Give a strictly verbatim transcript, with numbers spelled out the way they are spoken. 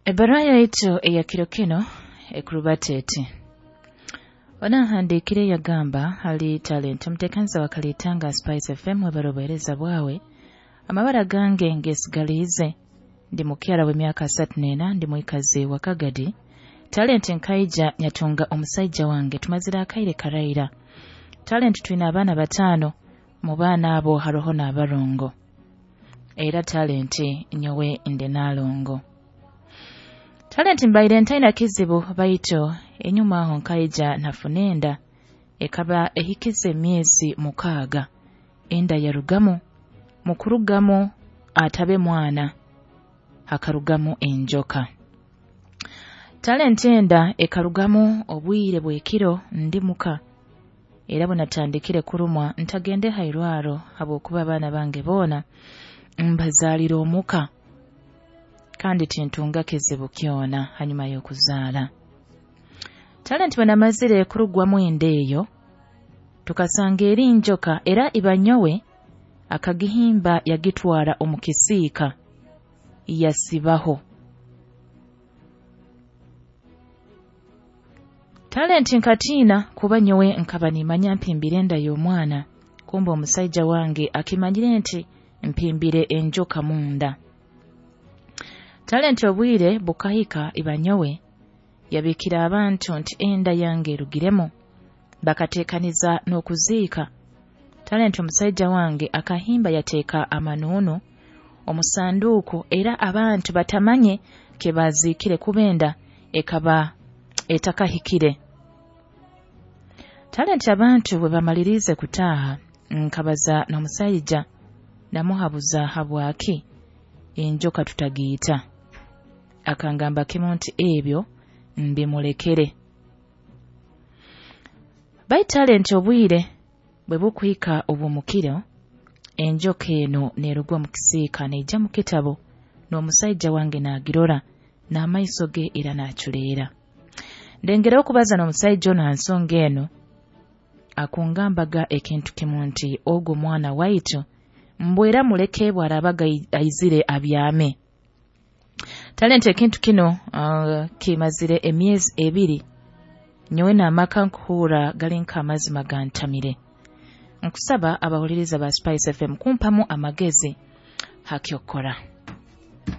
Ebbaruha yaitu eya kiro kinu ekurubata eti: Onahandiikire yagamba, hali Talent omuteekaniza wa Kalitanga Spice F M, webale obuheereza bwawe. Amabara gange ngesigaliize, ndi mukyara w'emyaka asatu n'ena, ndi mwikazi wa Kagadi. Talent nkaija nyatunga omusaija wange, tumazire akaire karaira. Talent twine abaana bataano, mu baana abo haroho n'abarongo. Era Talent nyowe ndi naalongo. Talent mbaire ntaina kizibu, baitu enyuma aho nkaija nafuna enda ekaba ehikize emyezi mukaaga. Enda yarugamu, mu kurugamu atabe mwana, hakarugamu enjoka. Talent enda ekarugamu obwire bw'ekiro ndi muka, era bwe natandikire kurumwa ntagende hairwaro habwokuba abaana bange boona mbazaalira omuka kandi tintunga kizibu kyona hanyuma y'okuzaala. Talent bwe namazire kurugwamu enda eyo, tukasanga eri njoka, era iba nyowe akagihimba yagitwara omu kisiika yasibaho. Talent nkatiina kuba nyowe nkaba nimanya mpimbire enda y'omwana, kumbe omusaija wange akimanyire nti mpimbire enjoka munda. Talent obwire bukahika iba nyowe yabikira abantu nti enda yange erugiremu, bakateekaniza n'okuziika. Talent omusaija wange akahimba yateeka amanuunu omu sanduuku, era abantu batamanye kebaziikire kuba enda ekaba etakahikire. Talent abantu bwe bamaliriize kutaaha, nkabaza n'omusaija namuhabuza habwaki enjoka tutagiita. Akangamba kimu nti ebyo mbimulekere. Baitu Talent obwire bwe bukuhika obw'omukiro, enjoka eno neeruga omu kisiika neija mu kitabo, n'omusaija wange naagirora n'amaiso ge era naaculeera. Ndengereho okubaza n'omusaija onu ha nsonga enu, akungambaga ekintu kimu nti ogwo mwana waitu mbwera muleke bw'araabaga aizire abyame. Talent ekintu kinu uh, kimazire emyezi ebiri, nyowe n'amaka nkuhuura gali nk'amazima gantamire. Nkusaba abahuliriza ba Spice F M kumpamu amagezi hakyokora.